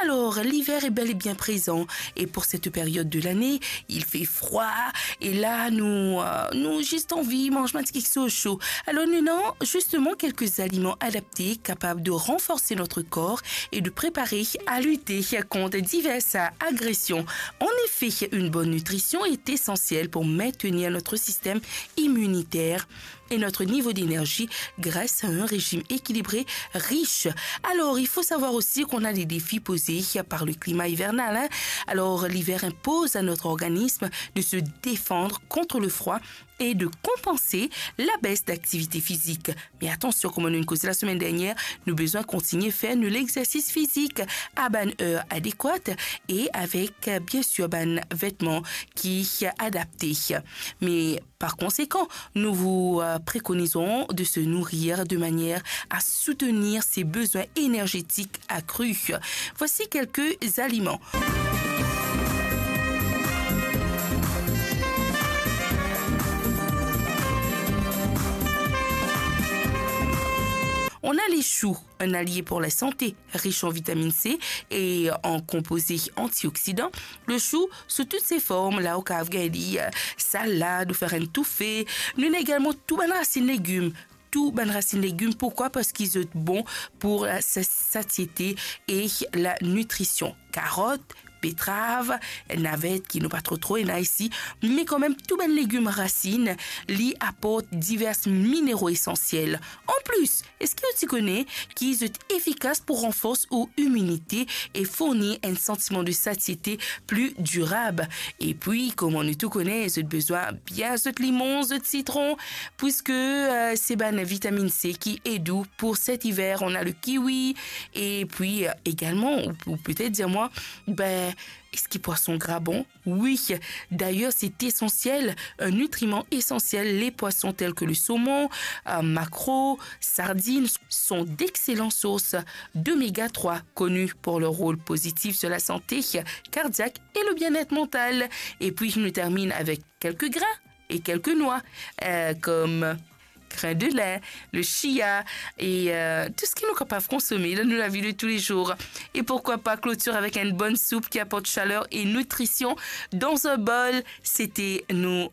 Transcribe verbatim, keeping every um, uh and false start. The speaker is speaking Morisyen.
Alors, l'hiver est bel et bien présent et pour cette période de l'année, il fait froid et là, nous, euh, nous juste envie manger un petit quelque chose chaud. Alors, nous avons justement quelques aliments adaptés capables de renforcer notre corps et de préparer à lutter contre diverses agressions. En effet, une bonne nutrition est essentielle pour maintenir notre système immunitaire et notre niveau d'énergie grâce à un régime équilibré, riche. Alors, il faut savoir aussi qu'on a des défis posés par le climat hivernal, hein. Alors, l'hiver impose à notre organisme de se défendre contre le froid et de compenser la baisse d'activité physique. Mais attention, comme nou inn koze la semaine dernière, nou bizin kontigne fer nou lexersis fizik a bann er adekwat e avek, euh, bien sûr, bann vetman ki adapte. Mais par conséquent, nous vous, euh, préconisons de se nourrir de manière à soutenir ses besoins énergétiques accrus. Voici quelques aliments. On a les choux, un allié pour la santé, riche en vitamine C et en composés antioxydants. Le chou, sous toutes ses formes, la ou kav gagn li, euh, salad ou fer enn toufe. Nou ena egalman tou bann rasinn legim. Tou bann rasinn legim, pourkwa? Parski zot bon pour la sa-, satiete e la nitrision. Karot, betrav, navet ki nou pa tro tro ena isi, me kanmem tou bann legim rasinn, li aport divers minero esansiel. An plis, eski ou ti kone ki zot efikas pou ranfors ou iminite e fourni enn santiman de satiete pli dirab? E pwi, kouma nou tou kone, zot bizin bien zot limon, zot sitron, puiske, euh, se bann vitamine C ki ed ou pour cet hiver. On a le kiwi, e pwi, euh, egalman, ou, ou petet dir mwa, be, eski pwason gra bon? Oui, d'ailleurs, c'est essentiel, un nutriment essentiel, les poissons tels que le saumon, euh, maquereau, sardines sont d'excellentes sources d'oméga trois, connues pour leur rôle positif sur la santé cardiaque et le bien-être mental. Et puis, je nous termine avec quelques grains et quelques noix, euh, comme grain de lin, le chia et, euh, tout ce que nous capables consommer dans nos vies de tous les jours. Et pourquoi pas clôturer avec une bonne soupe qui apporte chaleur et nutrition dans un bol. C'était nos